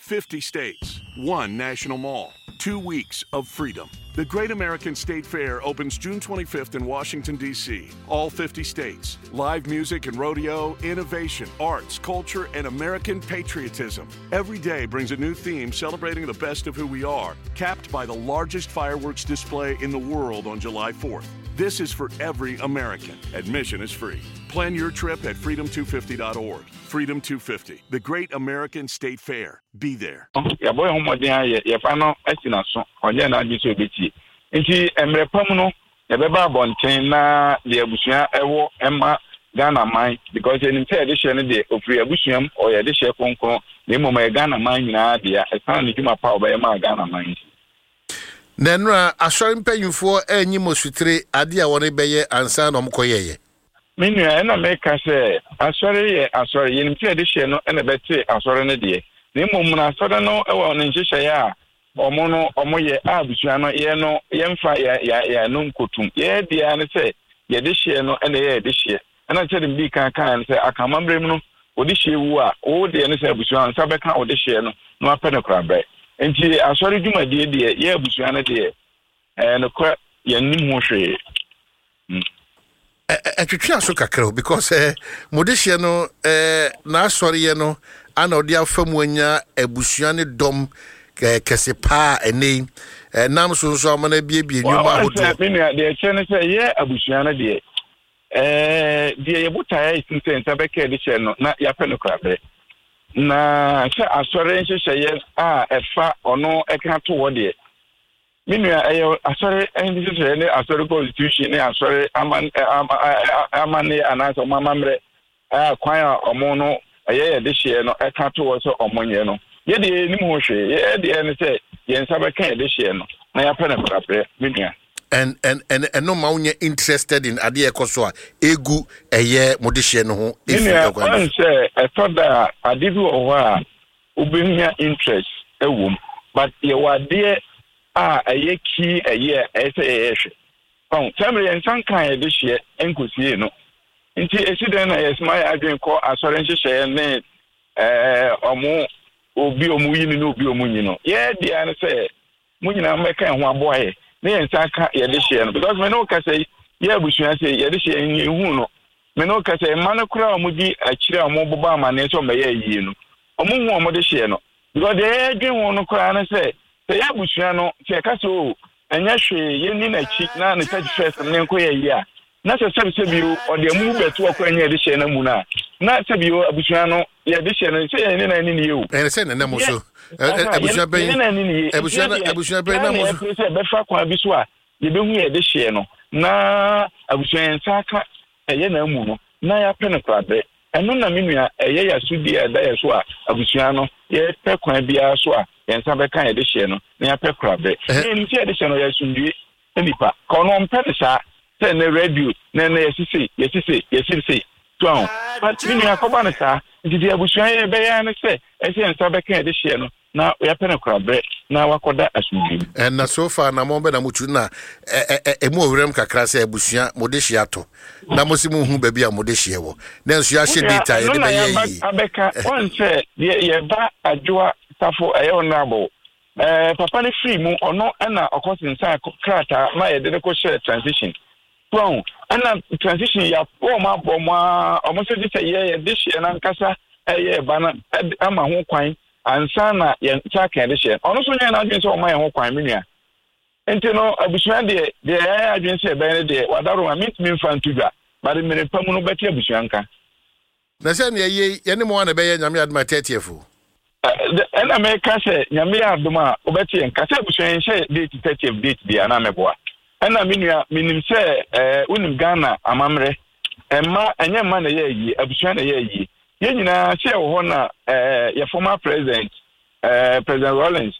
50 states, one national mall, 2 weeks of freedom. The Great American State Fair opens June 25th in Washington, D.C. All 50 states, live music and rodeo, innovation, arts, culture, and American patriotism. Every day brings a new theme celebrating the best of who we are, capped by the largest fireworks display in the world on July 4th. This is for every American. Admission is free. Plan your trip at freedom250.org. Freedom 250, the Great American State Fair. Be there. Yɛabɔ yɛn ho mmɔden ayɛ yɛfa no asi n'aso, ɔnyɛ n'adwene sɛ obetie. Nti mmerɛ pa mu no yɛbɛba abɔnten na deɛ abusua ɛwɔ ɛma Ghana man, because yɛnim sɛ yɛde hyɛ no deɛ ofiri abusua mu, ɔyɛ yɛde hyɛ kronkron, na mmom ɛyɛ Ghana man nyinaa dea ɛsan ne dwuma pa a ɔbɛyɛ maa Ghana man nti. Na nnora asɔre mpanyimfoɔ anyi mo sotire adeɛ a wɔn bɛyɛ ansa na wɔn kɔyɛeɛ. Me nua, ɛna meka sɛ asɔre yɛ asɔre. Yɛnim sɛ yɛde hyɛ no na ɛbɛte asɔre no deɛ. Na mmom no asɔre no wɔ ne nhyehyɛeɛ a wɔn no wɔyɛ a abusua no yɛ no yɛmfa yɛn yɛn ano nkotum. Yɛn deɛ ara ne sɛ yɛde hyeɛ no na ɛyɛ yɛde hyeɛ. Ɛna sɛdeɛ medii kan kaeɛ no sɛ aka amammerɛ mu no wode hyeɛ wu a wo deɛ ne sɛ abusua nsa bɛka wode hyeɛ no na wapɛ no korabrɛ. Nti asɔre dwumadie deɛ yɛ abusua no deɛ ɛyɛ nokorɛ yɛnnim ho hwee. Ɛtwetwe aso kakra o, because mo de hyeɛ no n'asɔreyɛ no ana ɔde afa mu anya abusua ne dɔm kɛse paa ɛnɛ yi nam so nso ama no abiebie nnwuma ahodoɔ. Me nua, deɛ ɛkyerɛ ne sɛ yɛ abusua no deɛ deɛ yɛ botaeɛ a ɛsim sɛ nsa bɛka ɛde hyɛ no na yɛapɛ no koraberɛ, na sɛ asɔre nhyehyɛeɛ a ɛfa ɔno ɛka to hɔ deɛ, me nua, ɛyɛ asɔre nhyehyɛeɛ ne asɔre constitution ne asɔre aman amanneɛ anaasɛ ɔmo amammerɛ a kwan a ɔmo no ɛyɛ yɛde hyeɛ no ɛka to hɔ sɛ ɔmo nyɛ no, yɛ deɛ yɛnim ho hwee. Yɛ deɛ ne sɛ yɛn nsa bɛka yɛde hyeɛ no na yɛapɛ no koraberɛ, me nua. And and and ɛno ma wonyɛ interested in adeɛ ɛkɔ so a egu ɛyɛ mo de hyeɛ no ho? Me nua, ɔn sɛ ɛtɔ da a ade bi wɔ hɔ a wobɛnya interest ɛwɔ mu, but yɛwɔ adeɛ a ɛyɛ key, ɛyɛ a ɛyɛ sɛ yɛyɛ hwɛ ɔn sɛ mmerɛ yɛn nsa nka yɛde hyeɛ nkosie no. Nti esi dɛn na yɛsoma yɛ adwene kɔ asɔre nhyehyɛeɛ ne ɔmo obi ɔmo yi no ne obi ɔmo nyi no? Yɛ deɛ ne sɛ mo nyinaa mmɛka yɛn ho aboa yɛ ne yɛn nsa aka yɛde hyeɛ no, because me ne wo kasa yi, yɛ abusua sɛ yɛde hyeɛ yɛn hu no. Me ne wo kasa yi, mma no koraa a wɔn di akyire a wɔn bobɔ amaneɛ sɛ wɔn bɛyɛ ayie no, wɔn hu wɔn de hyeɛ no, because deɛ yɛdwen ho no koraa ne sɛ yɛ abusua no sɛ yɛka sɛ o ɛnyɛ hwee, yɛnni n'akyi na ne 31st no yɛnkɔ yɛ ayie a, na sɛ sɛbisɛbi o ɔde amu bɛto ɔkɔ ɛnyɛ yɛde hyɛ no mu no a, na sɛbi o abusua no yɛde hyɛ no sɛ yɛn ne nan ne nie o. Ɛyɛ sɛ nana mo so abusua bɛn abusua bɛn na mo so sɛ bɛfa kwan bi so a yɛbɛhu yɛde hyɛ no na abusua yɛn nsa aka ɛyɛ na mu no na yɛapɛ no korabrɛ. Ɛno na me nua ɛyɛ yɛ asodie a ɛda yɛ so a abusua no yɛpɛ kwan biara so a yɛn nsa bɛka yɛde hyɛ no na yɛapɛ korabrɛ. Yɛn sɛ yɛde hyɛ no yɛ asomdue nipa ka ɔno ɔmpɛ no saa sɛ ɛnɛ radio na ɛnɛ yɛsi se yɛsi se yɛsi se so ahụ, but me nua akɔba no saa. Nti deɛ abusua yɛ bɛyɛ ne sɛ ɛsɛ yɛn nsa bɛka yɛde hyɛ no na yɛapɛ no korabrɛ na wakɔda asomdwe mu. Ɛna so far na mo bɛ na mo tu na ɛmu ɔwerɛm kakra sɛ abusua mo de hyɛ atɔ na mo si mo hu baabi a mo de hyɛ wɔ na nso yɛahyɛ date a yɛde bɛyɛ yi. Abɛka wɔn sɛ deɛ yɛba Adwoa Safo ɛyɛ honorable papa no firi mu, ɔno ɛna ɔkɔ sensan krataa ma yɛde no kɔhyɛ transition so, ɛna transition yɛ wɔn abɔ mo a wɔn nso gye sɛ yɛ yɛde hyɛ n'ankasa ɛyɛ ɛba no ama ho kwan ansa na yɛn nsa ka yɛde hyɛ. Ɔno nso nyɛ n'adwene sɛ ɔma yɛn ho kwan, me nua. Nti no abusua deɛ yɛayɛ adwene sɛ ɛbɛyɛ no deɛ wadaro a mentumi mfa nto dwa, but mmere pa mu no bɛte abusua nka. Na sɛ nea ɛyɛ yɛne mo a na ɛbɛyɛ Nyame adom a 30th o. Ɛna meka sɛ Nyame yɛ adom a wobɛte yɛn nka sɛ abusua yɛnhyɛ date 30th date deɛ anaa mɛboa. Ɛna me nua menim sɛ wonim Ghana amammerɛ, ɛma ɛnyɛ mma na ɛyɛ ayie, abusua na ɛyɛ ayie. Yɛn nyinaa sɛ yɛwɔ hɔ na yɛ former president, President Rawlings.